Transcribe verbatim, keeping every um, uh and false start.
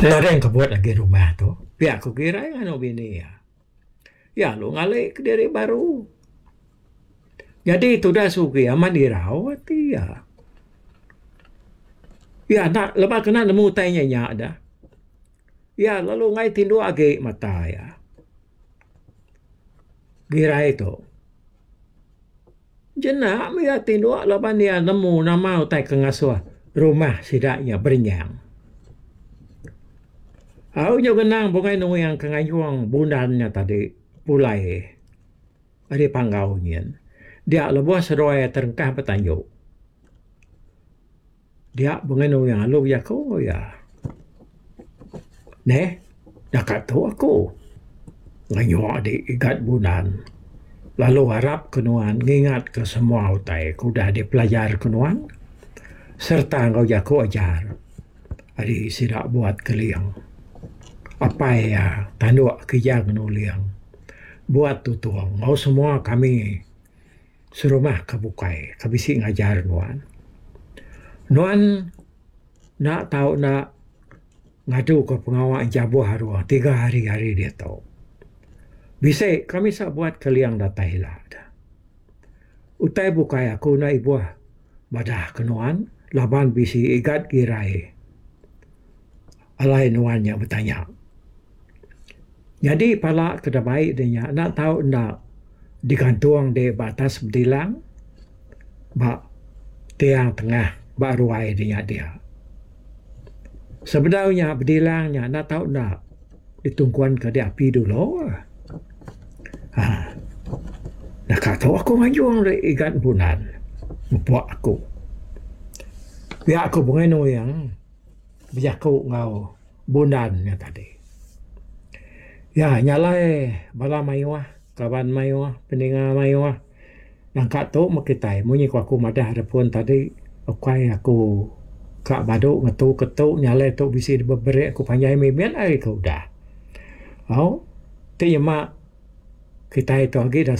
Nadai engkebut agi rumah tu, pia ku Girai nganu bini iya. Iya lalu ngali kediri baru. Nyadi tudah Sugi amat irau ati iya. Iya enda lebuh kena nemu utai nya nya dah. Iya lalu enggai tinduk agi mata iya. Girai tu. Jenak meh iya tinduk laban iya nemu nama utai ke ngasuh rumah sida nya berenyang. Au nyau ngenang bungai nuing ke ngayung bundan nya tadi pulai ari panggau nyin. Dia lebuh seduai terengkah betanju. Dia bungai nuing lalu bejaku enggau iya. Neh naka tu aku ngayung adi igat bundan lalu arap ke nuan ngingat ke semua utai ke udah dipelajar ke nuan sereta enggau jaku ajar ari sida buat keling. Apai iya tanduk kijang nuling buat tutung enggau semua kami serumah ke bukai ke bisi ngajar nuan. Nuan enda tau enda ngadu ke pengawa jabuh aruh tiga hari ari diatu. Bisi kami buat keling datai ila. Utai bukai aku enda ibuh madah ke nuan laban bisi igat girai alai nuan nya betanya. Nyadi pala ke dibai de nya enda tau enda digantung de ba atas bedilang ba tiang tengah ba ruai de nya dia. Sebedau nya bedilang nya enda tau enda ditungkun ke de api dulu. Haa naka tu aku nganjung de igat bunan mupuk aku. Pia aku bungai nuing bejaku enggau bundan nya tadi. Ya nya alai bala mayuh kaban mayuh peninga mayuh nangka tu meh kitai munyi ku aku madah da pun tadi ukai aku ka badu ngetu ke tu nya alai tu bisi beberi aku panjai mimit ari ke udah. Au ti nyema kitai tu agi da.